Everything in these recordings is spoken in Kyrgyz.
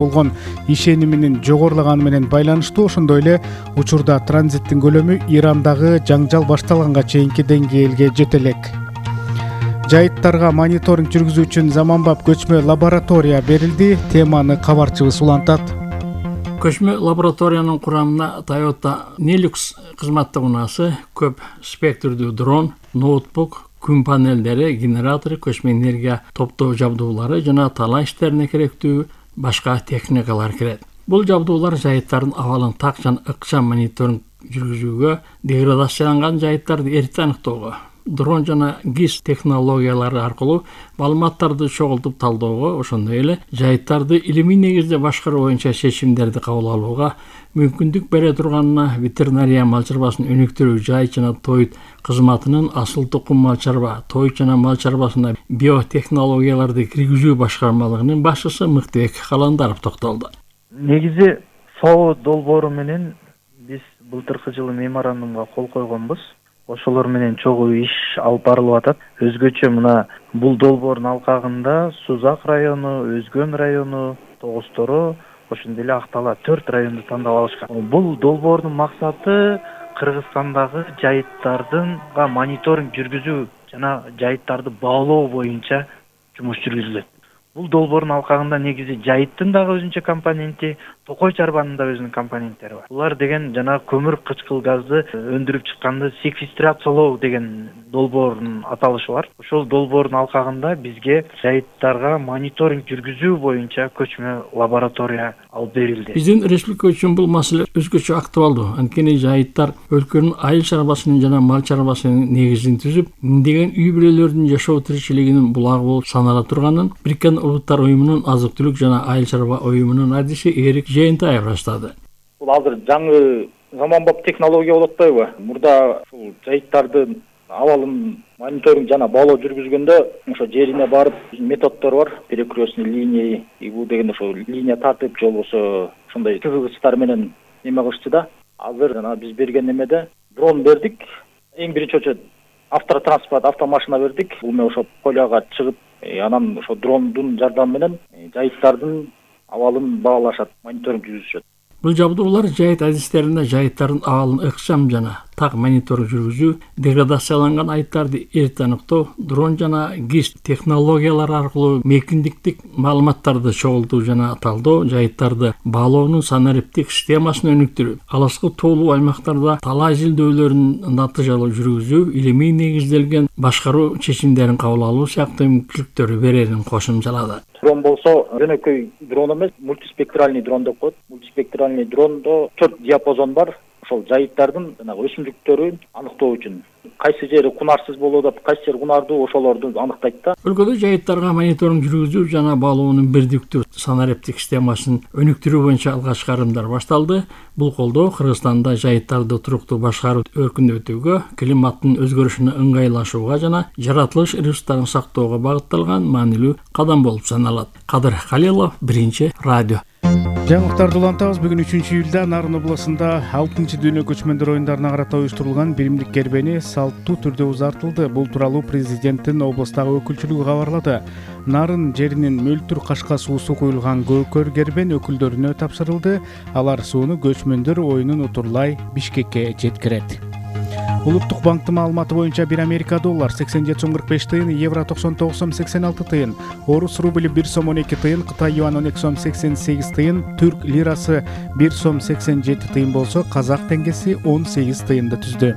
болгон ишениминин жогорулаганы менен байланыштуу. Ошондой эле учурда транзиттин көлөмү Ирандагы жаңжал башталганга чейинки деңгээлге жете элек. Жайыттарга мониторинг жүргүзүү үчүн заманбап көчмө лаборатория берилди. Теманы кабарчыбыз улантат. Көчмө лабораториянын курамына Toyota Nilux кызматтык унаасы, көп спектрдүү дрон, ноутбук, күн панелдери, генератору, көчмө энергия топтоо жабдуулары жана талаа иштерине керектүү башка техникалар кирет. Бул жабдуулар жайыттардын абалын так жана ыкчам мониторинг жүргүзүүгө, деградацияланган жайыттарды эрте аныктоого, дрон жана GIS технологиялары аркылуу маалыматтарды чогултуп талдоого, ошондой эле жайыттарды илимий негизде башкаруу боюнча чечимдерди кабыл алууга мүмкүндүк бере турганына ветеринария мал чарбасын өнүктүрүү жайыт жана тоют кызматынын асыл тукум мал чарба, тоют жана мал чарбасына биотехнологияларды киргизүү башкармалыгынын башчысы Мыктыбек Каландаров токтолду. Негизи ФАО долбоору менен биз былтыркы жылы меморандумга кол койгонбуз. Ошолор менен чогуу иш алып барылып атат. Өзгөчө мына бул долбоордун алкагында Сузак району, Өзгөн району, Тогусторо, ошондой эле Актала 4 районду тандап алышкан. Бул долбоордун максаты Кыргызстандагы жайыттардынга мониторинг жүргүзүү жана жайыттарды баалоо боюнча жумуш жүргүзүлөт. Бул долбоордун алкагында негизи жайыттын дагы өзүнчө компоненти, токой чарбанын да өзүнүн компоненттери бар. Булар деген жана көмүр кычкыл газды өндүрүп чыкканды секвестрациялоо деген долбоордун аталышы бар. Ошол долбоордун алкагында бизге жайыттарга мониторинг жүргүзүү боюнча көчмө лаборатория алып берилди. Биздин республика үчүн бул маселе өзгөчө актуалдуу. Анткени жайыттар өлкөнүн айыл чарбасынын жана мал чарбасынын негизин түзүп, миңдеген үй бүлөлөрдүн жашоо тиричилигинин булагы болуп санала турганын Бириккен Улуттар уюмунун азык-түлүк жана айыл чарба уюмунун адиси Эрик Жээнтаев раштады. Бул азыр жаңы заманбап технология болуп атпайбы? Мурда ушул жайыттардын абалын мониторинг жана баалоо жүргүзгөндө ошо жерине барып методдор бар. Перекрестный линия, бул деген ошо линия тартып же болбосо ошондой кызгычтар менен неме кылышты да. Азыр жана биз берген немеде дрон бердик. Эң биринчи очо автотранспорт, автомашина бердик. Бул менен ошо поляга чыгып, анан ошо дрондун жардамы менен жайыттардын абалын баалашат, мониторинг жүргүзүшөт. Бул жабдуулар жайыт адистеринде жайыттардын абалын ыкчам жана так мониторинг жүргүзүү, деградацияланган айыттарды эрте аныктоо, дрон жана GIS технологиялары аркылуу мейкиндиктик маалыматтарды чогултуу жана талдоо, жайыттарды баалоонун санариптик системасын өнүктүрүү, алыскы тоолуу аймактарда талаа изилдөөлөрүн натыйжалуу жүргүзүү, илимий негизделген башкаруу чечимдерин кабыл алуу сыяктуу мүмкүнчүлүктөрү берерин кошумчалады. Дрон болсо жөнөкөй дрон эмес, мультиспектральный дрон деп коет. Мультиспектральный дрондо 4 диапазон бар. Ошол жайыттардын өсүмдүктөрүн аныктоо үчүн кайсы жери кунарсыз болуп атат, кайсы жери кунардуу, ошолорду аныктайт да. Өлкөдө жайыттарга мониторинг жүргүзүү жана баалоонун бирдиктүү санариптик системасын өнүктүрүү боюнча алгач карымдар башталды. Бул колдоо Кыргызстанда жайыттарды туруктуу башкаруу өркүндөтүүгө, климаттын өзгөрүшүнө ыңгайлашууга жана жаратылыш ресурстарын сактоого багытталган маанилүү кадам болуп саналат. Кадыр Халилов, Биринчи радио. Жаңылыктарды улантабыз. Бүгүн 3-июлда Нарын областында 6-дүйнө көчмөндөр оюндарына карата уюштурулган биримдик кербени салттуу түрдө узартылды. Бул тууралуу президенттин областагы өкүлчүлүгү кабарлады. Нарын жеринин мөлтүр кашка суусу куюлган көкөр кербен өкүлдөрүнө тапшырылды. Алар сууну көчмөндөр оюнун утурлай Бишкекке жеткирет. Улуттук банктын маалыматы боюнча 1 Америка доллар 87 сом 45 тыйын, евро 99 сом 86 тыйын, орус рубли 1 сом 12 тыйын, Кытай юан 12 сом 88 тыйын, түрк лирасы 1 сом 87 тыйын болсо, казак теңгеси 18 тыйынды түздү.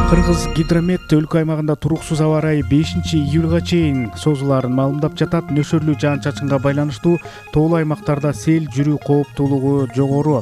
Кыргыз гидромет өлкө аймагында туруксуз аба ырайы 5-июлга чейин созулаарын маалымдап жатат. Нөшөрлүү жаан-чачынга байланыштуу тоолуу аймактарда сел жүрүү кооптуулугу жогору.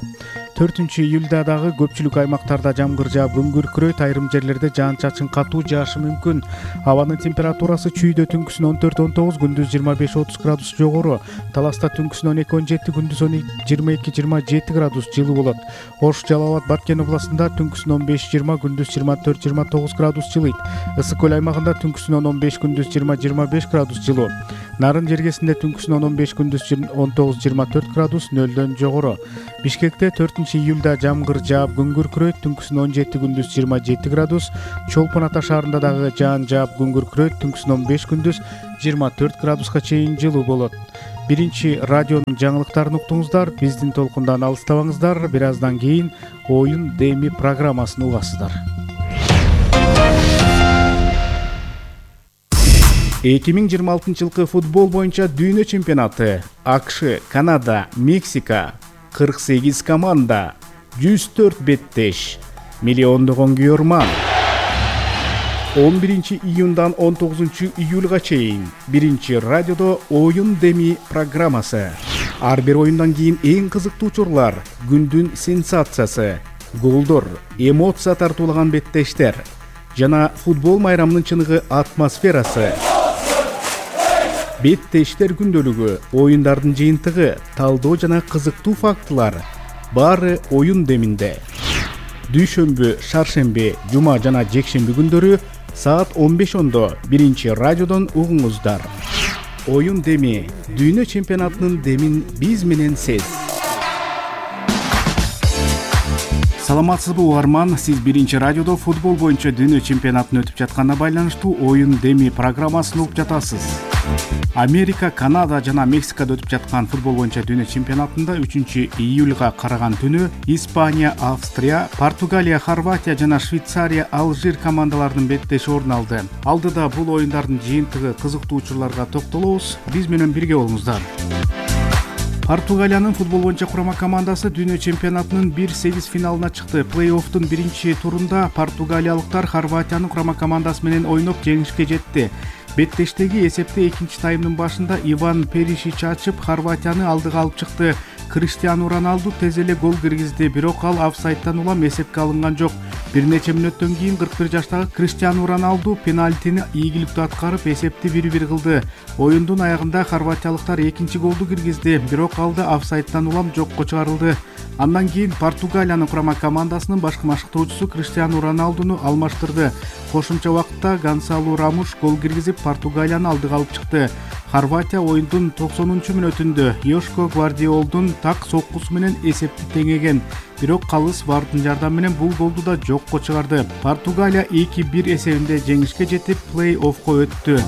4-июлда дагы көпчүлүк аймактарда жамгыр жаап күн күркүрөйт, айрым жерлерде жаан-чачын катуу жаашы мүмкүн. Абанын температурасы чүйдө түнкүсүн 14-19, күндүз 25-30 градус жогору. Таласта түнкүсүн 12-17, күндүз 22-27 градус жылуу болот. Ош, Жалал Абад, Баткен областында түнкүсүн 15-20, күндүз 24-29 градус жылыйт. Ысык көл аймагында түнкүсүн 15, күндүз 20-25 градус жылуу. Нарын жергесинде түнкүсүн 15 күндүз 19-24 градус нөлдөн жогору. Бишкекте 4-июлда жамгыр жаап күн күркүрөйт, түнкүсүн 17 күндүз 27 градус. Чолпон Ата шаарында дагы жаан жаап күн күркүрөйт, түнкүсүн 15 күндүз 24 градуска чейин жылуу болот. Биринчи радионун жаңылыктарын уктуңуздар. Биздин толкундан алыстабаңыздар. Бир аздан кийин Оюн Деми программасын угасыздар. 2026 жылкы футбол боюнча дүйнө чемпионаты. АКШ, Канада, Мексика, 48 команда, 104 беттеш, миллиондогон күйөрман. 11 июндан 19 июлга чейин биринчи радиодо Оюн Деми программасы. Ар бир оюндан кийин эң кызыктуу учурлар, күндүн сенсациясы, голдор, эмоция тартуулаган беттештер жана футбол майрамынын чыныгы атмосферасы. Беттештер күндөлүгү, оюндардын жыйынтыгы, талдоо жана кызыктуу фактылар баары Оюн Деминде. Дүйшөмбү, шаршемби, жума жана жекшемби күндөрү саат 15:10 биринчи радиодон угуңуздар. Оюн Деми, дүйнө чемпионатынын демин биз менен сез. Саламатсызбы угарман, сиз биринчи радиодо футбол боюнча дүйнө чемпионатын өтүп жатканына байланыштуу Оюн Деми программасын угуп жатасыз. Америка, Канада жана Мексикада өтүп жаткан футбол боюнча дүйнө чемпионатында 3 июлга караган түнү Испания, Австрия, Португалия, Хорватия жана Швейцария, Алжир командаларынын беттеши орун алды. Алдыда бул оюндардын жыйынтыгы, кызыктуу учурларга токтолобуз. Биз менен бирге болуңуздар. Португалиянын футбол боюнча курама командасы дүйнө чемпионатынын 1/8 финалына чыкты. Плей-оффтун биринчи турунда португалиялыктар Хорватиянын курама командасы менен ойноп жеңишке жетти. Беттештеги эсепти экинчи таймдын башында Иван Перишич ачып, Хорватияны алдыга алып чыкты. Криштиану Роналду тез эле гол киргизди, бирок ал офсайдтан улам эсепке алынган жок. Бир нече мүнөттөн кийин 41 жаштагы Криштиану Роналду пенальтини ийгиликтүү аткарып, эсепти 1-1 кылды. Оюндун аягында хорватиялыктар экинчи голду киргизди, бирок ал да офсайдтан улам жокко чыгарылды. Андан кийин Португалиянын курама командасынын башкы машыктоочусу Криштиану Роналдуну алмаштырды. Кошумча убакытта Гонсалу Рамуш гол киргизип, Португалияны алдыга алып чыкты. Хорватия оюндун 90-мүнөтүндө Йошко Гвардиолдун так соккусу менен эсепти теңеген. Бирок калыс вардын жардамы менен бул голду да жокко чыгарды. Португалия 2-1 эсебинде жеңишке жетип, плей-оффко өттү.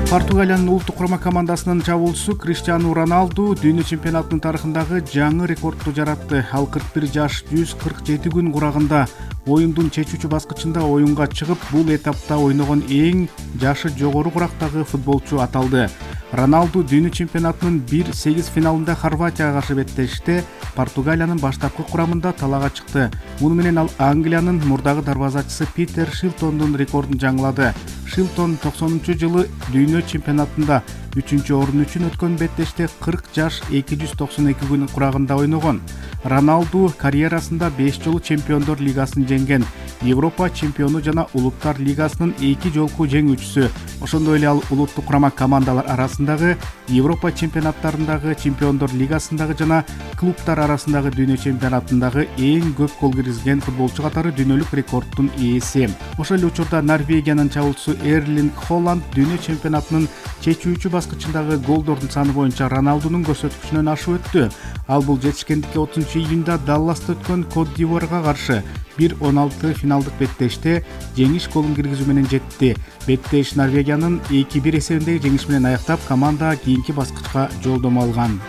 Португалиянын улуттук курама командасынын чабуучусу Криштиану Роналду дүйнө чемпионатынын тарыхындагы жаңы рекордду жаратты. Ал 41 жаш 147 күн курагында оюндун чечүүчү баскычында оюнга чыгып, бул этапта ойногон эң жашы жогору курактагы футболчу аталды. Роналду дүйнө чемпионатынын 1/8 финалында Хорватияга каршы беттеште Португалиянын баштапкы курамында талаага чыкты. Муну менен ал Англиянын мурдагы дарбазачысы Питер Шилтондун рекордун жаңылады. Шилтон 90-жылы дүйнө чемпионатында 3-орун үчүн өткөн беттеште 40 жаш 292 күн курагында ойногон. Роналду карьерасында 5 жолу Чемпиондор лигасын жеңген, Европа чемпиону жана Улуттар лигасынын 2 жолку жеңүүчүсү. Ошондой эле ал улуттук курама командалар арасындагы, Европа чемпионаттарындагы, Чемпиондор лигасындагы жана клубтар арасындагы дүйнө чемпионатындагы эң көп гол киргизген футболчу катары дүйнөлүк рекорддун ээси. Ошол эле учурда Норвегиянын чабуучусу Эрлинг Холланд дүйнө чемпионатынын чечүүчү баскычындагы голдордун саны боюнча Роналдунун көрсөткүчүнөн ашып өттү. Ал бул жетишкендикке 30 июнда Далласта өткөн Кот д'Ивуарга каршы 1-16 финалдык беттеште жеңиш голун киргизүү менен жетти. Беттеш Норвегиянын 2-1 эсебиндеги жеңиш менен аяктап, команда кийинки баскычка жолдомо алган.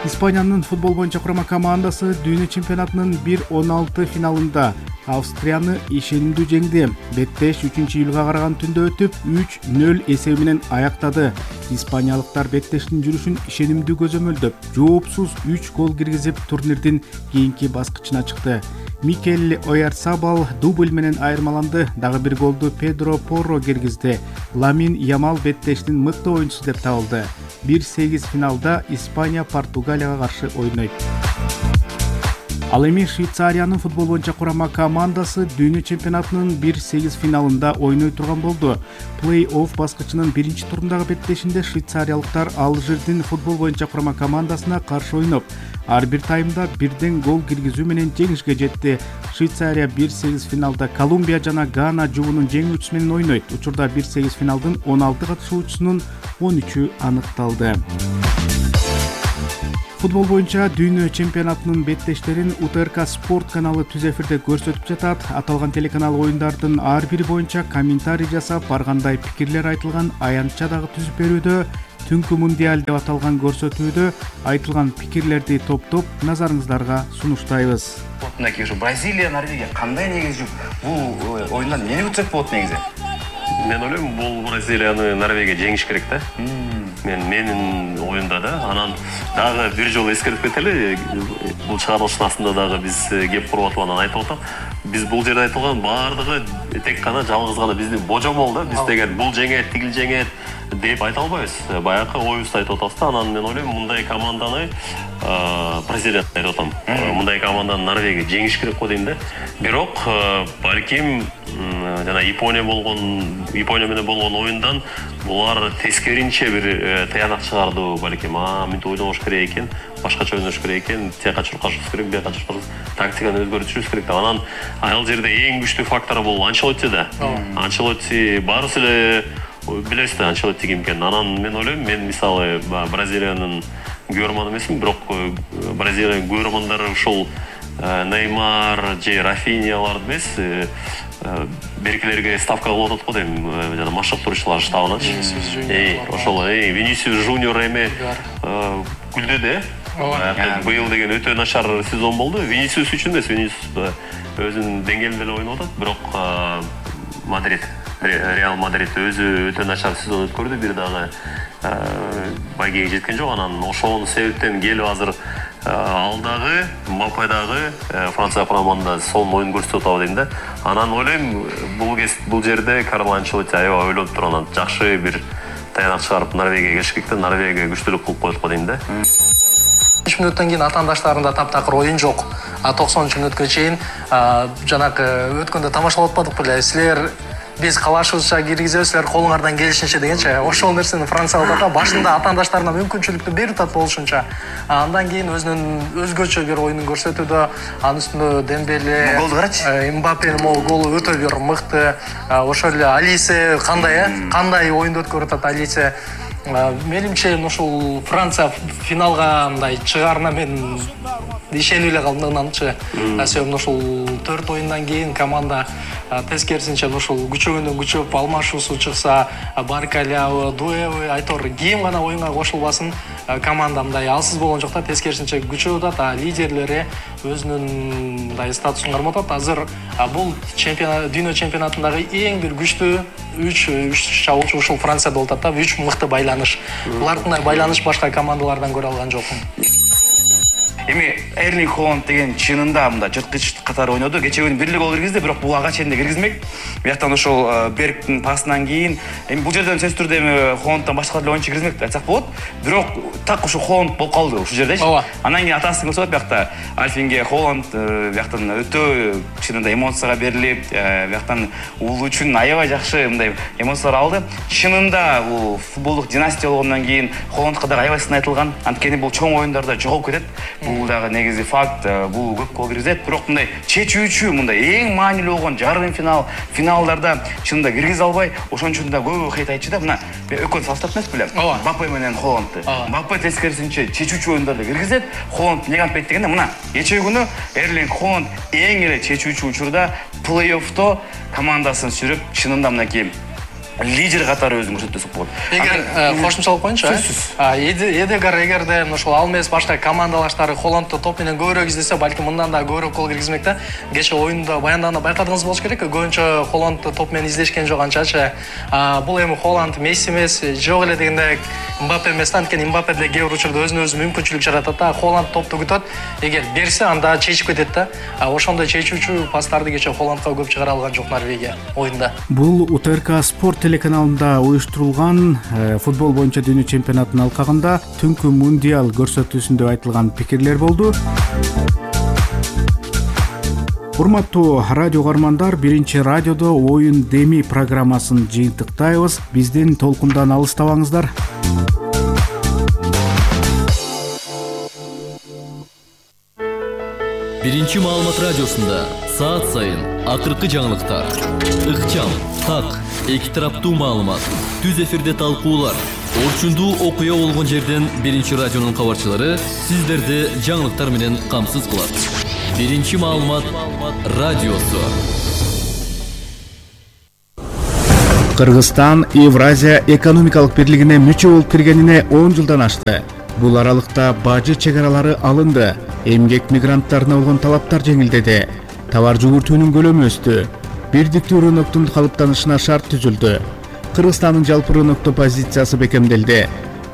Испаниянын футбол боюнча курама командасы дүйнө чемпионатынын 1-16 финалында Австрияны ишенимдүү жеңди. Беттеш 3-июлга караган түндө өтүп 3-0 эсеби менен аяктады. Испаниялыктар беттештин жүрүшүн ишенимдүү көзөмөлдөп, жоопсуз 3 гол киргизип, турнирдин кийинки баскычына чыкты. Микель Ойярсабал дубль менен айырмаланды. Дагы бир голду Педро Порро киргизди. Ламин Ямал беттештин мыкты оюнчусу деп табылды. 1/8 финалда Испания Португалияга каршы ойнойт. Ал эми Швейцариянын футбол боюнча курама командасы дүйнө чемпионатынын 1/8 финалында ойной турган болду. Плей-офф баскычынын биринчи турундагы беттешинде швейцариялыктар Алжирдин футбол боюнча курама командасына каршы ойноп, ар бир таймда бирден гол киргизүү менен жеңишке жетти. Швейцария 1/8 финалда Колумбия жана Гана жуунун жеңүүчүсү менен ойнойт. Учурда 1/8 финалдын 16 катышуучусунун 13-ү аныкталды. Футбол боюнча дүйнө чемпионатынын беттештерин УТРК спорт каналы түз эфирде көрсөтүп жатат. Аталган телеканал оюндардын ар бири боюнча комментарий жасап, ар кандай пикирлер айтылган аянтча дагы түзүп берүүдө. Түнкү мундиаль деп аталган көрсөтүүдө айтылган пикирлерди топтоп назарыңыздарга сунуштайбыз. Мынакей ушу Бразилия, Норвегия кандай негизи бул оюндан эмне күтсөк болот негизи? Мен ойлойм, бул Бразилияны Норвегия жеңиш керек да. Менин оюнда да. Анан дагы бир жолу эскертип кетели, бул чыгарылыштын астында дагы биз кеп куруп атып анан айтып атам. Биз бул жерде айтылган баардыгы тек гана жалгыз гана биздин божомол да. Биз деген бул жеңет, тигил жеңет деп айта албайбыз. Баягы оюбузду айтып атабыз да. Анан мен ойлойм, мындай команданы Бразилия айтып атам. Мындай команданы Норвегия жеңиш керек го дейм да. Бирок балким жана Япония менен болгон оюндан булар тескеринче бир таянак чыгарды балким. Мынтип ойнош керек экен, башкача ойнош керек экен, тияка чуркашыбыз керек, бияка чуркашыбыз, тактиканы өзгөртүшүбүз керек деп. Анан ал жерде эң күчтүү фактор бул Анчелотти да. Анчелотти баарыбыз эле билебиз да, Анчелотти ким экенин. Анан мен ойлойм, мен мисалы Бразилиянын көрмөн эмесмин, бирок Бразилиянын көрмөндөрү ушул Неймар же Рафиньялар эмес, беркилерге ставка кылып атат го дейм, жана машыктыруучулар штабыначы. Ошол Винисиус Жуниор эми күлдөдө. Быйыл деген өтө начар сезон болду. Винисиус үчүн эмес, Винисиус өзүнүн деңгээлинде эле ойноп атат, бирок Реал Мадрид өзү өтө начар сезон өткөрдү, бир дагы байгеге жеткен жок. Анан ошол себептен келип азыр ал дагы, Мбаппе дагы Франция курамында сонун оюн көрсөтүп атабы дейм да. Анан ойлойм, бул жерде Карло Анчелотти аябай ойлонуп туруп, анан жакшы бир таянак чыгарып Норвегияга келиш керек да, Норвегия күчтүүлүк кылып коет го дейм да. 5 мүнөттөн кийин атаандаштарында таптакыр оюн жок. 90-мүнөткө чейин жанагы өткөндө тамашалап атпадык беле, силер биз калашыбызча киргизебиз, силер колуңардан келишинче дегенче. Ошол нерсени Франциялык башында атаандаштарына мүмкүнчүлүктү берип атат болушунча. Андан кийин өзүнүн өзгөчө бир оюнун көрсөтүүдө, анын үстүндө Дембеле, голду карачы. Мбаппенин голу өтө бир мыкты. Ошол эле Алисе кандай оюнду өткөрүп атат Алисе. Менимче ушул Франция финалга мындай чыгаарына мен ишенип эле калдымчы. Себеби ушул 4 оюндан кийин команда тескерисинче ушул күчөгөндөн күчөп алмашуусу чыкса, Баркалябы, Дуэбы, айтор ким гана оюнга кошулбасын, команда мындай алсыз болгон жок да, тескерисинче күчөп атат, лидерлери өзүнүн мындай статусун кармап атат. Азыр бул дүйнө чемпионатындагы эң бир күчтүү 3 чабуучу ушул Францияда болуп атат да, 3 мыкты байланыш. Булардын байланыш башка командалардан көрө алган жокмун. Эми Эрлинг Холланд деген чынында мында жырткыч катары ойноду. Кече күнү бирлик гол киргизди, бирок бул ага чейин киргизмек. Бияктан ошол Берктин пасынан кийин эми бул жерден сөзсүз түрдө эми Холландтан башка эле оюнчу киргизмек айтсак болот. Бирок так ушу Холланд болуп калды ушул жердечи. Анан кийин атасын көрсөтөт биякта. Альфинге Холланд бияктан өтө чынында эмоцияга берилип, бияктан ул үчүн аябай жакшы мындай эмоциялар алды. Чынында бул футболдук династия болгондон кийин Холландка дагы аябай сын айтылган. Анткени бул чоң оюндарда жоголуп кетет. Бул дагы негизи факт, бул көп гол киргизет, бирок мындай чечүүчү, мындай эң маанилүү болгон жарым финалдарда чынында киргизе албай, ошон үчүн да көп хейт айтчу да. Мына экөө салыштырып эмес белем? Мбаппе менен Холландты. Мбаппе тескерисинче чечүүчү оюндарда киргизет, Холланд эмнеге антпайт дегенде, мына кечээ күнү Эрлинг Холланд эң эле чечүүчү учурда плей-оффто командасын сүрүп, чынында мынакей лидер катары өзүн көрсөтөсүп болот. Эгер кошумчалап коеюнчу, Эдегар эгерде ошол ал эмес башка командалаштары Холландты топ менен көбүрөөк издесе, балким мындан да көбүрөөк гол киргизмек да. Кече оюнда баяндаганда байкадыңыз болуш керек, көбүнчө Холландты топ менен издешкен жок анчачы. Бул эми Холланд Месси эмес, жок эле дегенде Мбаппе эмес, анткени Мбаппе да кээ бир учурда өзүнө өзү мүмкүнчүлүк жаратат да. Холланд топту күтөт, эгер берсе анда чечип кетет да. Ошондой чечүүчү пастарды кече Холландка көп чыгара алган жок Норвегия оюнда. Бул УТРК спорт телеканалында уюштурулган футбол боюнча дүйнө чемпионатынын алкагында түнкү мундиаль көрсөтүүсүндө айтылган пикирлер болду. Урматтуу радио угармандар, биринчи радиодо оюн деми программасын жыйынтыктайбыз. Биздин толкундан алыстабаңыздар. Биринчи маалымат радиосунда саат сайын акыркы жаңылыктар, ыкчам, так, эки тараптуу маалымат, түз эфирде талкуулар, орчундуу окуя болгон жерден биринчи радионун кабарчылары сиздерди жаңылыктар менен камсыз кылат. Биринчи маалымат радиосу. Кыргызстан Евразия экономикалык бирлигине мүчө болуп киргенине 10 жылдан ашты. Бул аралыкта бажы чегаралары алынды, эмгек мигранттарына болгон талаптар жеңилдеди, товар жүгүртүүнүн көлөмү өстү, бирдиктүү рыноктун калыптанышына шарт түзүлдү. Кыргызстандын жалпы рынокто позициясы бекемделди.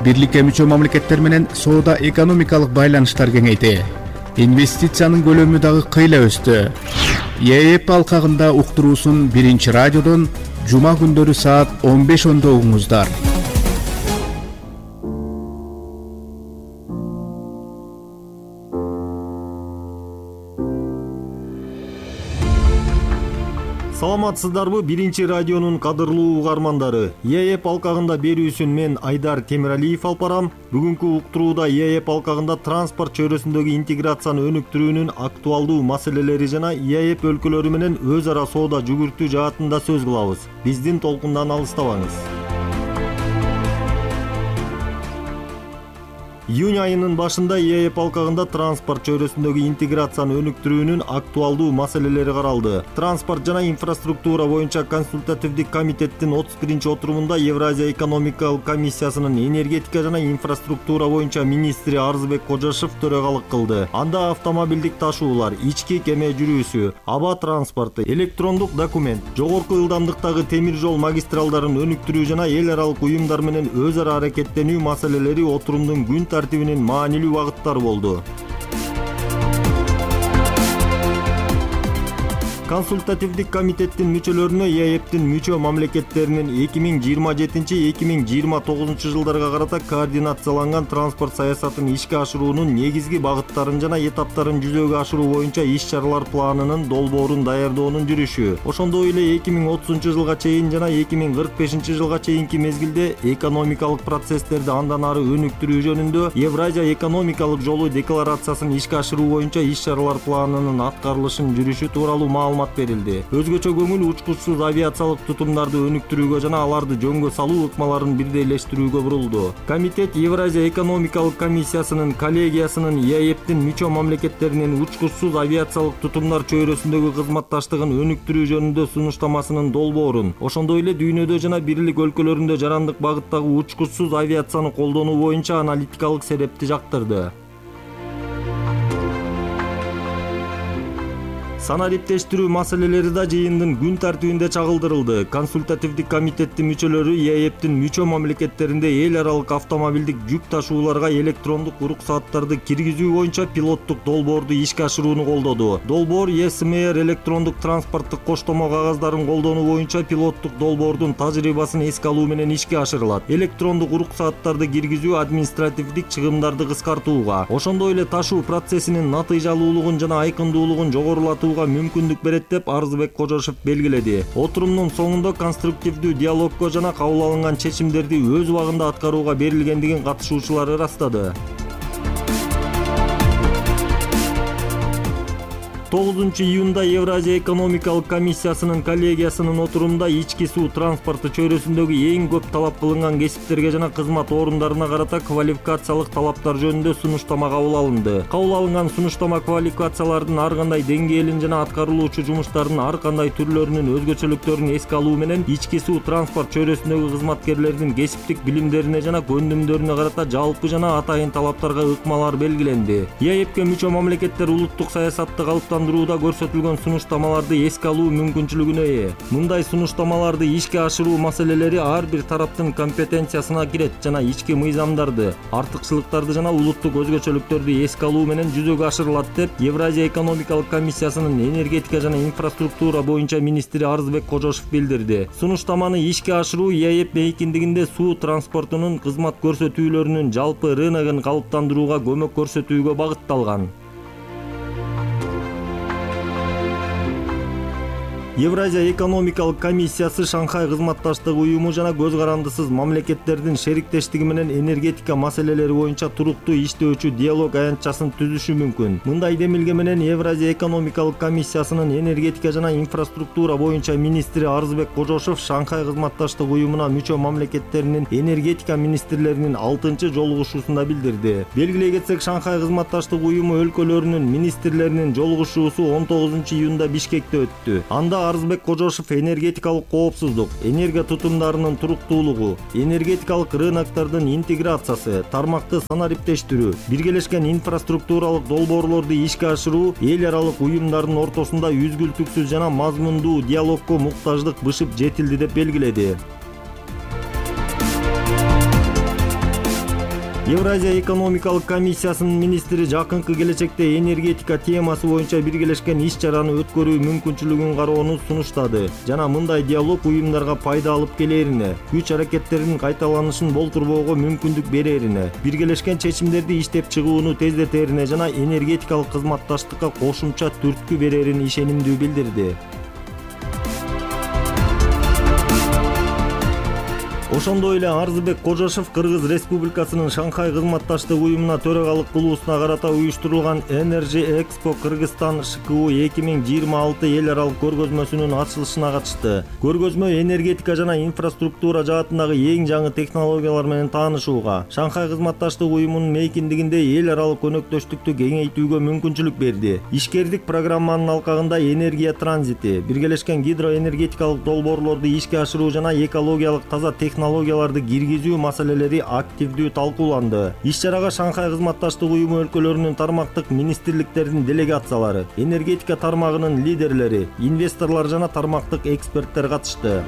Бирликке мүчө мамлекеттер менен соода экономикалык байланыштар кеңейди. Инвестициянын көлөмү дагы кыйла өстү. ЕЭП алкагында уктуруусун биринчи радиодон жума күндөрү саат 15:10 угуңуздар. Саламатсыздарбы биринчи радионун кадырлуу угармандары. ЕЭП алкагында берүүсүн мен Айдар Темиралиев алып барам. Бүгүнкү уктурууда ЕЭП алкагында транспорт чөйрөсүндөгү интеграцияны өнүктүрүүнүн актуалдуу маселелери жана ЕЭП өлкөлөрү менен өз ара соода жүгүртүү жаатында сөз кылабыз. Биздин толкундан алыстабаңыз. Июнь айынын башында ЕЭП алкагында транспорт чөйрөсүндөгү интеграцияны өнүктүрүүнүн актуалдуу маселелери каралды. Транспорт жана инфраструктура боюнча консультативдик комитеттин 31 отурумунда Евразия экономикалык комиссиясынын энергетика жана инфраструктура боюнча министри Арзыбек Кожошов төрагалык кылды. Анда автомобилдик ташуулар, ички кеме жүрүүсү, аба транспорту, электрондук документ, жогорку ылдамдыктагы темир жол магистралдарын өнүктүрүү жана эл аралык уюмдар менен өз ара аракеттенүү маселелери отурумдун күн тартибинин маанилүү багыттары болду. Консультативдик комитеттин мүчөлөрүнө ЕЭПтин мүчө мамлекеттеринин 2027-2029 жылдарга карата координацияланган транспорт саясатын ишке ашыруунун негизги багыттарын жана этаптарын жүзөгө ашыруу боюнча иш-чаралар планынын долбоорун даярдоонун жүрүшү. Ошондой эле 2030 жылга чейин жана 2045 жылга чейинки мезгилде экономикалык процесстерди андан ары өнүктүрүү жөнүндө Евразия экономикалык жолу декларациясын ишке ашыруу боюнча иш-чаралар планынын аткарылышын жүрүшү тууралуу маалымат берилди. Өзгөчө көңүл учкучсуз авиациялык тутумдарды өнүктүрүүгө жана аларды жөнгө салуу ыкмаларын бирдейлештирүүгө бурулду. Комитет Евразия экономикалык комиссиясынын коллегиясынын ЕЭПтин мүчө мамлекеттеринин учкучсуз авиациялык тутумдар чөйрөсүндөгү кызматташтыгын өнүктүрүү жөнүндө сунуштамасынын долбоорун, ошондой эле дүйнөдө жана бирлик өлкөлөрүндө жарандык багыттагы учкучсуз авиацияны колдонуу боюнча аналитикалык серепти жактырды. Санариптештирүү маселелери да жыйындын күн тартибинде чагылдырылды. Консультативдик комитеттин мүчөлөрү ЕЭПтин мүчө мамлекеттеринде эл аралык автомобилдик жүк ташууларга электрондук уруксааттарды киргизүү боюнча пилоттук долбоорду ишке ашырууну колдоду. Долбоор ЕСМР электрондук транспорттук коштомо кагаздарын колдонуу боюнча пилоттук долбоордун тажрыйбасын эске алуу менен ишке ашырылат. Электрондук уруксааттарды киргизүү административдик чыгымдарды кыскартууга, ошондой эле ташуу процессинин натыйжалуулугун жана айкындуулугун жогорулатууга мүмкүндүк берет деп Арзыбек Кожошов белгиледи. Отурумдун соңунда конструктивдүү диалогго жана кабыл алынган чечимдерди өз убагында аткарууга берилгендигин катышуучулар ырастады. 9 июнда Евразия экономикалык комиссиясынын коллегиясынын отурумунда ички суу транспорту чөйрөсүндөгү эң көп талап кылынган кесиптерге жана кызмат орундарына карата квалификациялык талаптар жөнүндө сунуштама кабыл алынды. Кабыл алынган сунуштама квалификациялардын ар кандай деңгээлин жана аткарылуучу жумуштардын ар кандай түрлөрүнүн өзгөчөлүктөрүн эске алуу менен ички суу транспорт чөйрөсүндөгү кызматкерлердин кесиптик билимдерине жана көндүмдөрүнө карата жалпы жана атайын талаптарга ыкмалар белгиленди. ЕЭПке мүчө мамлекеттер улуттук саясатты калыптандыруу көрсөтүлгөн сунуштамаларды эске алуу мүмкүнчүлүгүнө ээ. Мындай сунуштамаларды ишке ашыруу маселелери ар бир тараптын компетенциясына кирет жана ички мыйзамдарды, артыкчылыктарды жана улуттук өзгөчөлүктөрдү эске алуу менен жүзөгө ашырылат деп Евразия экономикалык комиссиясынын энергетика жана инфраструктура боюнча министри Арзыбек Кожошов билдирди. Сунуштаманы ишке ашыруу ЕЭП мейкиндигинде суу транспортунун кызмат көрсөтүүлөрүнүн жалпы рыногун калыптандырууга көмөк көрсөтүүгө багытталган. Евразия экономикалык комиссиясы Шанхай кызматташтык уюму жана көз карандысыз мамлекеттердин шериктештиги менен энергетика маселелери боюнча туруктуу иштөөчү диалог аянтчасын түзүшү мүмкүн. Мындай демилге менен Евразия экономикалык комиссиясынын энергетика жана инфраструктура боюнча министри Арзбек Кожошов Шанхай кызматташтык уюмуна мүчө мамлекеттеринин энергетика министрлеринин 6-чы жолугушуусунда билдирди. Белгилей кетсек, Шанхай кызматташтык уюму өлкөлөрүнүн министрлеринин жолугушуусу 19-июнда Бишкекте өттү. Анда Арзбек Кожошов энергетикалык коопсуздук, энергия тутумдарынын туруктуулугу, энергетикалык рыноктордун интеграциясы, тармакты санариптештирүү, биргелешкен инфраструктуралык долбоорлорду ишке ашыруу эл аралык уюмдардын ортосунда үзгүлтүксүз жана мазмундуу диалогко муктаждык бышып жетилди деп белгиледи. Евразия экономикалык комиссиясынын министри жакынкы келечекте энергетика темасы боюнча биргелешкен иш-чараны өткөрүү мүмкүнчүлүгүн кароону сунуштады жана мындай диалог уюмдарга пайда алып келерине, күч аракеттеринин кайталанышын болтурбоого мүмкүндүк берерине, биргелешкен чечимдерди иштеп чыгууну тездетерине жана энергетикалык кызматташтыкка кошумча түрткү берерин ишенимдүү билдирди. Ошондой эле Арзбек Кожошов Кыргыз Республикасынын Шанхай кызматташтык уюмуна төрагалык кылуусуна карата уюштурулган Energy Expo Кыргызстан ШКУ 2026 эл аралык көргөзмөсүнүн ачылышына катышты. Көргөзмө энергетика жана инфраструктура жаатындагы эң жаңы технологиялар менен таанышууга, Шанхай кызматташтык уюмунун мейкиндигинде эл аралык өнөктөштүктү кеңейтүүгө мүмкүнчүлүк берди. Ишкердик программанын алкагында энергия транзити, биргелешкен гидроэнергетикалык долбоорлорду ишке ашыруу жана экологиялык таза технологияларды киргизүү маселелери активдүү талкууланды. Иш-чарага Шанхай кызматташтык уюму өлкөлөрүнүн тармактык министрликтердин делегациялары, энергетика тармагынын лидерлери, инвесторлор жана тармактык эксперттер катышты.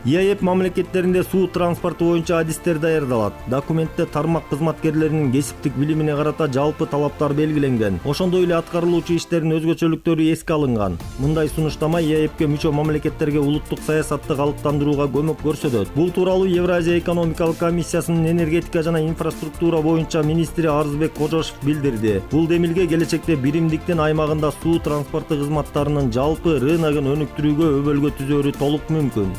ИАЭП мамлекеттеринде суу транспорту боюнча адистер даярдалат. Документте тармак кызматкерлеринин кесиптик билимине карата жалпы талаптар белгиленген. Ошондой эле аткарылуучу иштердин өзгөчөлүктөрү эске алынган. Мындай сунуштама ИАЭПке мүчө мамлекеттерге улуттук саясатты калыптандырууга көмөк көрсөтөт. Бул тууралуу Евразия экономикалык комиссиясынын энергетика жана инфраструктура боюнча министри Арзбек Кожошов билдирди. Бул демилге келечекте биримдиктин аймагында суу транспорту кызматтарынын жалпы рыногун өнүктүрүүгө өбөлгө түзөөрү толук мүмкүн.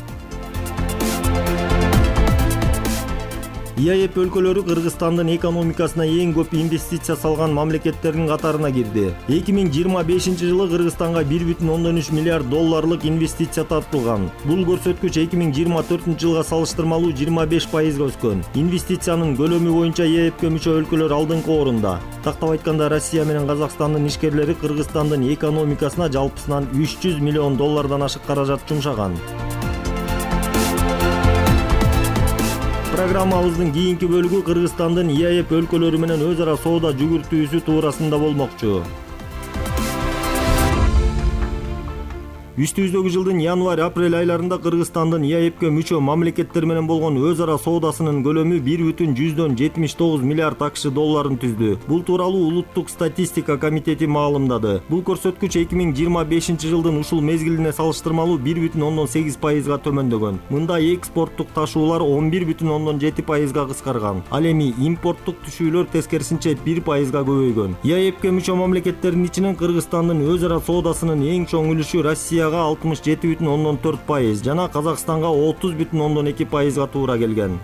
ИАЭП өлкөлөрү Кыргызстандын экономикасына эң көп инвестиция салган мамлекеттердин катарына кирди. 2025-жылы Кыргызстанга 1,3 миллиард долларлык инвестиция тартылган. Бул көрсөткүч 2024-жылга салыштырмалуу 25% өскөн. Инвестициянын көлөмү боюнча ИАЭПке мүчө өлкөлөр алдыңкы орунда. Тактап айтканда, Россия менен Казакстандын ишкерлери Кыргызстандын экономикасына жалпысынан 300 миллион доллардан ашык каражат жумшаган. Программабыздын кийинки бөлүгү Кыргызстандын ИАЭП өлкөлөрү менен өз ара соода жүгүртүүсү туурасында болмокчу. Үстүбүздөгү жылдын январь-апрель айларында Кыргызстандын ИАЭПке мүчө мамлекеттер менен болгон өз ара соодасынын көлөмү 1,79 миллиард АКШ долларын түздү. Бул тууралуу Улуттук статистика комитети маалымдады. Бул көрсөткүч 2025-жылдын ушул мезгилине салыштырмалуу 1,8%га төмөндөгөн. Мында экспорттук ташуулар 11,7%га кыскарган. Ал эми импорттук түшүүлөр тескерисинче 1%га көбөйгөн. ИАЭПке мүчө мамлекеттердин ичинен Кыргызстандын өз ара соодасынын эң чоң үлүшү Россия 67,4% жана Казакстанга 30,2%га туура келген.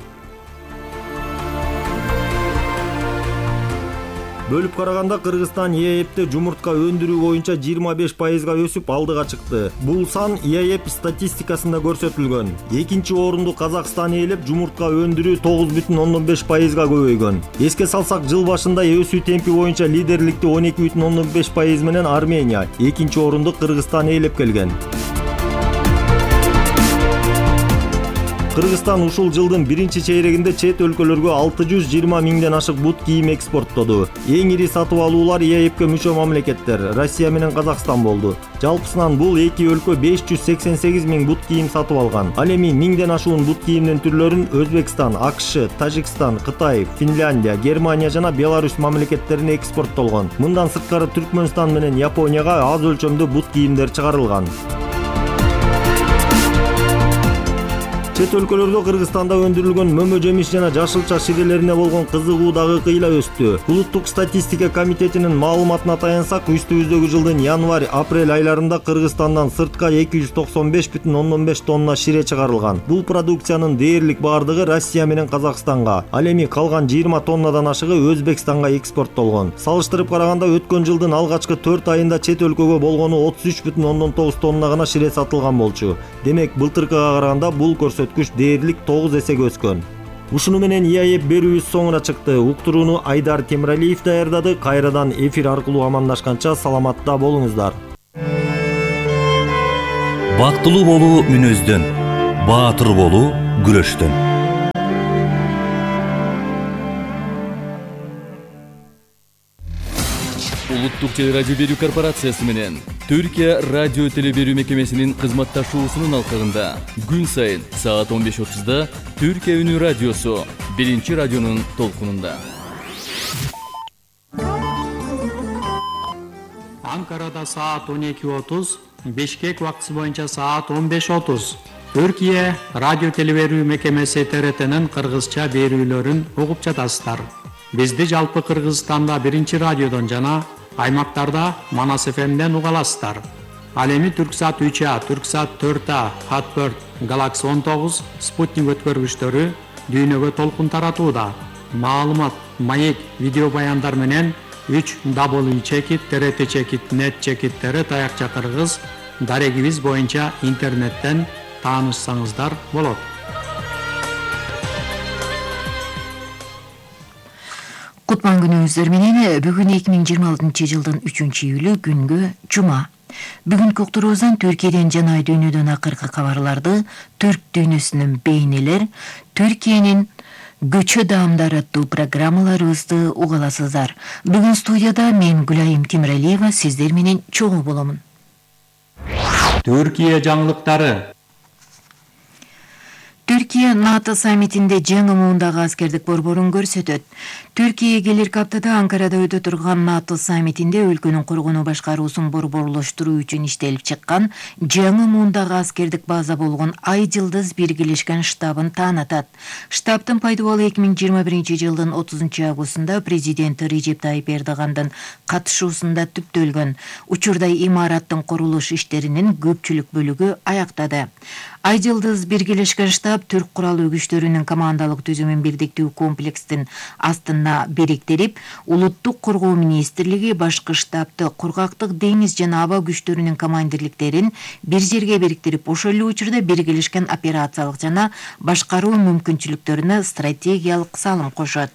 Бөлүп караганда Кыргызстан ИАЭПте жумуртка өндүрүү боюнча 25%га өсүп алдыга чыкты. Бул сан ИАЭП статистикасында көрсөтүлгөн. Экинчи орунду Казакстан ээлеп, жумуртка өндүрүү 9,5%га көбөйгөн. Эске салсак, жыл башында өсүү темпи боюнча лидерликти 12,5% менен Армения, экинчи орунду Кыргызстан ээлеп келген. Кыргызстан ушул жылдын биринчи чейрегинде чет өлкөлөргө 620 миңден ашык бут кийим экспорттоду. Эң ири сатып алуулар ИАЭПке мүчө мамлекеттер Россия менен Казакстан болду. Жалпысынан бул эки өлкө 588 миң бут кийим сатып алган. Ал эми миңден ашуун бут кийимдин түрлөрүн Өзбекстан, АКШ, Тажикстан, Кытай, Финляндия, Германия жана Беларусь мамлекеттерине экспорттолгон. Мындан сырткары Түркмөнстан менен Японияга аз өлчөмдүү бут кийимдер чыгарылган. Чет өлкөлөрдө Кыргызстанда өндүрүлгөн мөмө жемиш жана жашылча ширелерине болгон кызыгуу дагы кыйла өстү. Улуттук статистика комитетинин маалыматына таянсак, үстүбүздөгү жылдын январь-апрель айларында Кыргызстандан сыртка 295,5 тонна шире чыгарылган. Бул продукциянын дээрлик бардыгы Россия менен Казакстанга, ал эми калган 20 тоннадан ашыгы Өзбекстанга экспорттолгон. Салыштырып караганда өткөн жылдын алгачкы 4 айында чет өлкөгө болгону 33,9 тонна гана шире сатылган болчу. Демек, былтыркыга караганда бул көрсөткүч дээрлик 9 эсеге өскөн. Ушуну менен ИАЭП берүүбүз соңуна чыкты. Уктурууну Айдар Темиралиев даярдады. Кайрадан эфир аркылуу амандашканча саламатта болуңуздар. Бактылуу болуу мүнөздөн, баатыр болуу күрөштөн. Улуттук телерадио берүү корпорациясы менен Түркия радио телеберүү мекемесинин кызматташуусунун алкагында күн сайын саат 15:30 Түркия үнү радиосу биринчи радионун толкунунда. Анкарада саат 12:30, Бишкек убактысы боюнча саат 15:30. Түркия радио телеберүү мекемеси ТРТнин кыргызча берүүлөрүн угуп жатасыздар. Бизди жалпы Кыргызстанда биринчи радиодон жана аймактарда Манас ФМден уга аласыздар. Ал эми Түрксат 3А, Түрксат 4А, Хатберт, Галакси 19, Спутник өткөргүчтөрү дүйнөгө толкун таратууда. Маалымат, маек, видео баяндар менен 3W TRT-net таякча кыргыз дарегибиз боюнча интернеттен таанышсаңыздар болот. Кутман күнүңүздөр менен бүгүн 2026 жылдын 3-июлү күнгө жума. Бүгүнкү уктуруубуздан Түркияден жана дүйнөдөн акыркы кабарларды, түрк дүйнөсүнүн бейнелер, Түркиянын көчө даамдары аттуу программаларыбызды уга аласыздар. Бүгүн студияда мен Гүлайым Темиралиева сиздер менен чогуу боломун. Түркия жаңылыктары. Түркия НАТО саммитинде жаңы муундагы аскердик борборун көрсөтөт. Түркия келерки аптада Анкарада өтө турган НАТО саммитинде өлкөнүн коргонуу башкаруусун борборлоштуруу үчүн иштелип чыккан жаңы муундагы аскердик база болгон Ай Жылдыз биргелешкен штабын таанатат. Штабтын пайдубалы 2021 жылдын 30 августунда президент Режеп Тайип Эрдогандын катышуусунда түптөлгөн. Учурда имараттын курулуш иштеринин көпчүлүк бөлүгү аяктады. Ай Жылдыз биргелешкен штаб түрк куралдуу күчтөрүнүн командалык түзүмүн бирдиктүү комплекстин астына бириктирип, улуттук коргоо министрлиги башкы штабты кургактык, деңиз жана аба күчтөрүнүн командирликтерин бир жерге бириктирип, ошол эле учурда биргелешкен операциялык жана башкаруу мүмкүнчүлүктөрүнө стратегиялык салым кошот.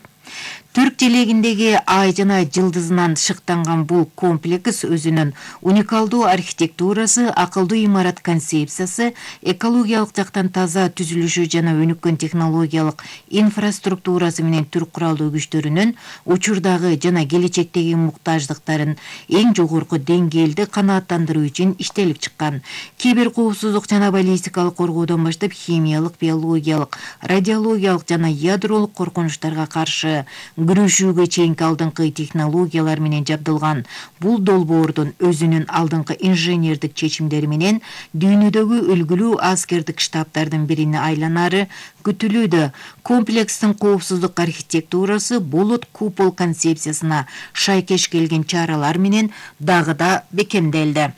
Түрк желегиндеги Ай жана Жылдызынан шыктанган бул комплекс өзүнүн уникалдуу архитектурасы, акылдуу имарат концепциясы, экологиялык жактан таза түзүлүшү жана өнүккөн технологиялык инфраструктурасы менен түрк куралдуу күчтөрүнүн учурдагы жана келечектеги муктаждыктарын эң жогорку деңгээлде канааттандыруу үчүн иштелип чыккан. Кибер коопсуздук жана баллистикалык коргоодон баштап химиялык, биологиялык, радиологиялык жана ядролук коркунучтарга каршы күрөшүүгө чейинки алдыңкы технологиялар менен жабдылган бул долбоордун өзүнүн алдыңкы инженердик чечимдери менен дүйнөдөгү үлгүлүү аскердик штабтардын бирине айланары күтүлүүдө. Комплекстин коопсуздук архитектурасы болот купол концепциясына шайкеш келген чаралар менен дагы да бекемделди.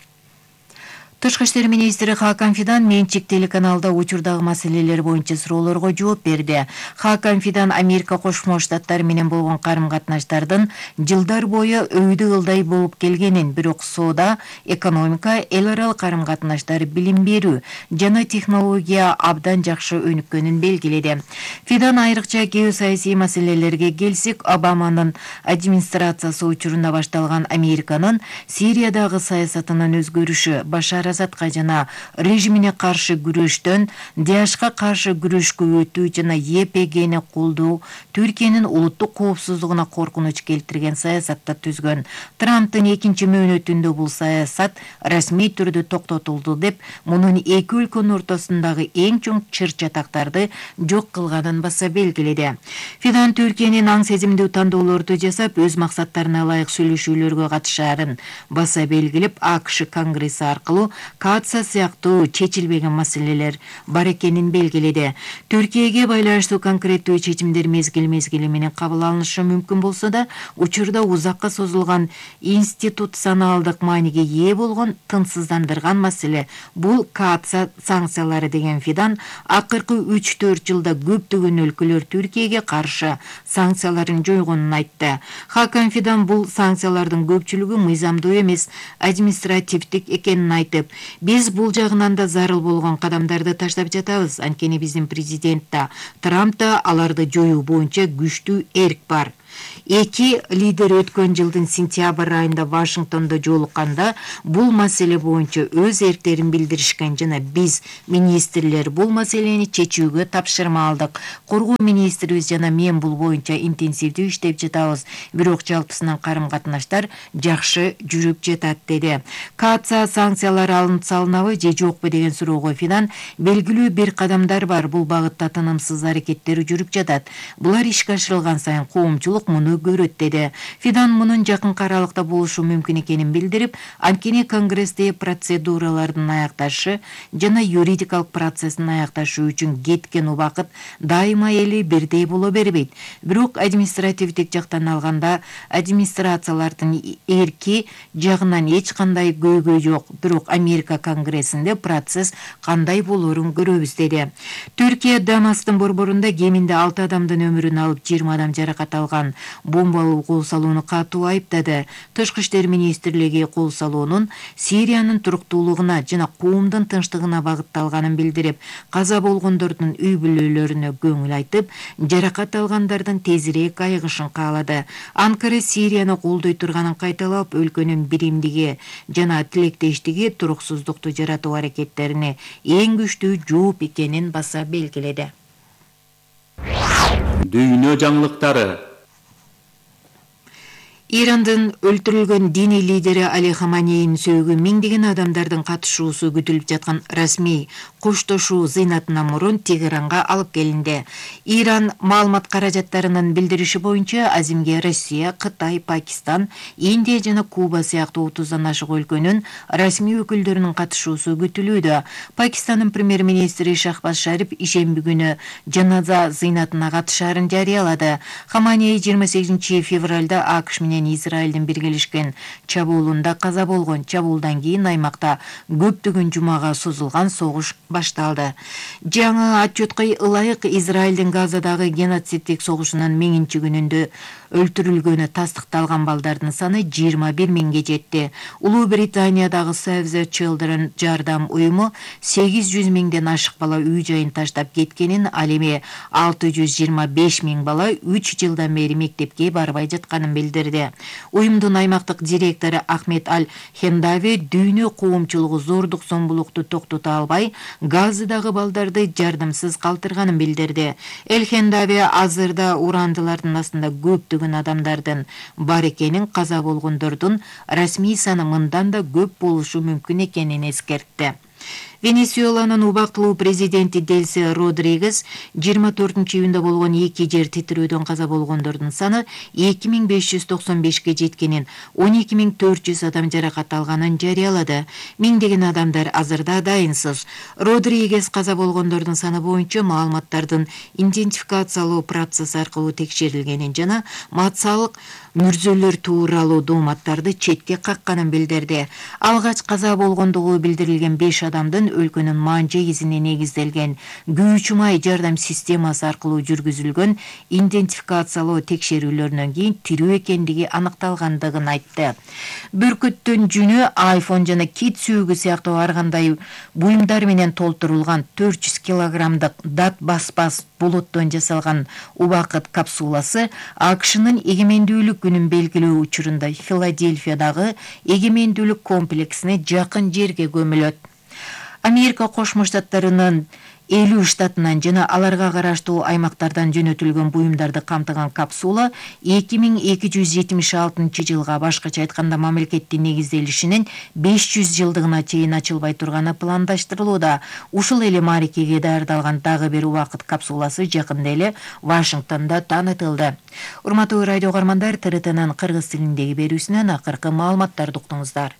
Тышкы иштер министри Хакан Фидан менчик телеканалда учурдагы маселелер боюнча суроолорго жооп берди. Хакан Фидан Америка Кошмо Штаттары менен болгон карым-катнаштардын жылдар бою өйдө ылдай болуп келгенин, бирок соода, экономика, эл аралык карым-катнаштар, билим берүү жана технология абдан жакшы өнүккөнүн белгиледи. Фидан айрыкча геосаясий маселелерге келсек, Обаманын администрациясы учурунда башталган Американын Сириядагы саясатынын өзгөрүшү, Башар Асадка жана режимине каршы күрөштөн ДАШка каршы күрөшкө өтүү жана ЕПГни колдоо Түркиянын улуттук коопсуздугуна коркунуч келтирген саясатта түзгөн. Трамптын экинчи мөөнөтүндө бул саясат расмий түрдө токтотулду деп, мунун эки өлкөнүн ортосундагы эң чоң чыр-чатактарды жок кылганын баса белгиледи. Фидан Түркиянын аң сезимдүү тандоолорду жасап, өз максаттарына ылайык сүйлөшүүлөргө катышаарын баса белгилеп, АКШ Конгресси аркылуу Катса сыяктуу чечилбеген маселелер бар экенин белгиледи. Түркияга байланыштуу конкреттүү чечимдер мезгил менен кабыл алынышы мүмкүн болсо да, учурда узакка созулган институционалдык мааниге ээ болгон тынчсыздандырган маселе бул Катса санкциялары деген Фидан акыркы 3-4 жылда көптөгөн өлкөлөр Түркияга каршы санкцияларын жойгонун айтты. Хакан Фидан бул санкциялардын көпчүлүгү мыйзамдуу эмес, административдик экенин айтып, биз бул жагынан да зарыл болгон кадамдарды таштап жатабыз. Анткени биздин президент да, Трамп да аларды жоюу боюнча күчтүү эрк бар. Эки лидер өткөн жылдын сентябрь айында Вашингтондо жолукканда бул маселе боюнча өз эрктерин билдиришкен жана биз министрлер бул маселени чечүүгө тапшырма алдык. Коргоо министрибиз жана мен бул боюнча интенсивдүү иштеп жатабыз. Бирок жалпысынан карым-катнаштар жакшы жүрүп жатат деди. Катса санкциялары алынып салынабы же жокпу деген суроого Фидан белгилүү бир кадамдар бар. Бул багытта тынымсыз аракеттер жүрүп жатат. Булар ишке ашырылган сайын коомчулук муну көрөт деди. Фидан мунун жакын аралыкта болушу мүмкүн экенин билдирип, анткени Конгрессте процедуралардын аякташы жана юридикалык процесстин аякташы үчүн кеткен убакыт дайыма эле бирдей боло бербейт. Бирок административдик жактан алганда администрациялардын эрки жагынан эч кандай көйгөй жок. Бирок Америка Конгрессинде процесс кандай болорун көрөбүз деди. Түркия Дамастын борборунда кеминде 6 адамдын өмүрүн алып 20 адам жаракат алган бомбалуу кол салууну катуу айыптады. Тышкы иштер министрлиги кол салуунун Сириянын туруктуулугуна жана коомдун тынчтыгына багытталганын билдирип, каза болгондордун үй бүлөлөрүнө көңүл айтып, жаракат алгандардын тезирээк айыгышын каалады. Анкара Сирияны колдой турганын кайталап, өлкөнүн биримдиги жана тилектештиги туруксуздукту жаратуу аракеттерине эң күчтүү жооп экенин баса белгиледи. Дүйнө жаңылыктары. Ирандын өлтүрүлгөн диний лидери Али Хаманейнин сөөгү миңдеген адамдардын катышуусу күтүлүп жаткан расмий коштошуу зыйнатына мурун Тегеранга алып келинди. Иран маалымат каражаттарынын билдириши боюнча азимге Россия, Кытай, Пакистан, Индия жана Куба сыяктуу 30дан ашык өлкөнүн расмий өкүлдөрүнүн катышуусу күтүлүүдө. Пакистандын премьер-министри Шахбаз Шариф ишемби күнү жаназа зыйнатына катышаарын жарыялады. Хаманей 28 февралда АКШ менен Израилдин биргелешкен чабуулунда каза болгон. Чабуулдан кийин аймакта көптөгөн жумага созулган согуш башталды. Жаңы отчетко ылайык Израилдин Газадагы геноциддик согушунун 1000 күнүндө өлтүрүлгөнү тастыкталган балдардын саны 21 миңге жетти. Улуу Британиядагы Save the Children жардам уюму 800 миңден ашык бала үй жайын таштап кеткенин, ал эми 625 миң бала 3 жылдан бери мектепке барбай жатканын билдирди. Уюмдун аймактык директору Ахмед Аль-Хендави дүйнө коомчулугу зордук зомбулукту токтото албай, Газадагы балдарды жардамсыз калтырганын билдирди. Эль-Хендави азырда урандылардын астында көптөгөн адамдардын бар экенин, каза болгондордун расмий саны мындан да көп болушу мүмкүн экенин эскертти. Венесуэланын убактылуу президенти Дельси Родригес 24-июнда болгон 2 жер титирөөдөн каза болгондордун саны 2595ке жеткенин, 12400 адам жаракат алганын жарыялады. Миңдеген адамдар азырда дайынсыз. Родригес каза болгондордун саны боюнча маалыматтардын идентификациялоо процесси аркылуу текшерилгенин жана матсалык мүрзөлөр тууралуу дооматтарды четке какканын билдирди. Алгач каза болгондугу билдирилген 5 адамдын өлкөнүн манжа изине негизделген күйүүчү май жардам системасы аркылуу жүргүзүлгөн идентификациялоо текшерүүлөрүнөн кийин тирүү экендиги аныкталгандыгын айтты. Бүркүттүн жүнү, iPhone жана кит сүйүгү сыяктуу ар кандай буюмдар менен толтурулган 400 килограммдык дат баспас болоттон жасалган убакыт капсуласы АКШнын эгемендүүлүк күнүн белгилөө учурунда Филадельфиядагы эгемендүүлүк комплексине жакын жерге көмүлөт. Америка Кошмо Штаттарынын 50 штатынан жана аларга караштуу аймактардан жөнөтүлгөн буюмдарды камтыган капсула 2276 жылга, башкача айтканда мамлекеттин негизделишинин 500 жылдыгына чейин ачылбай турганы пландаштырылууда. Ушул эле мааракеге даярдалган дагы бир убакыт капсуласы жакында эле Вашингтондо таанытылды. Урматтуу радио угармандар, ТРТнын кыргыз тилиндеги берүүсүнөн акыркы маалыматтарды уктуңуздар.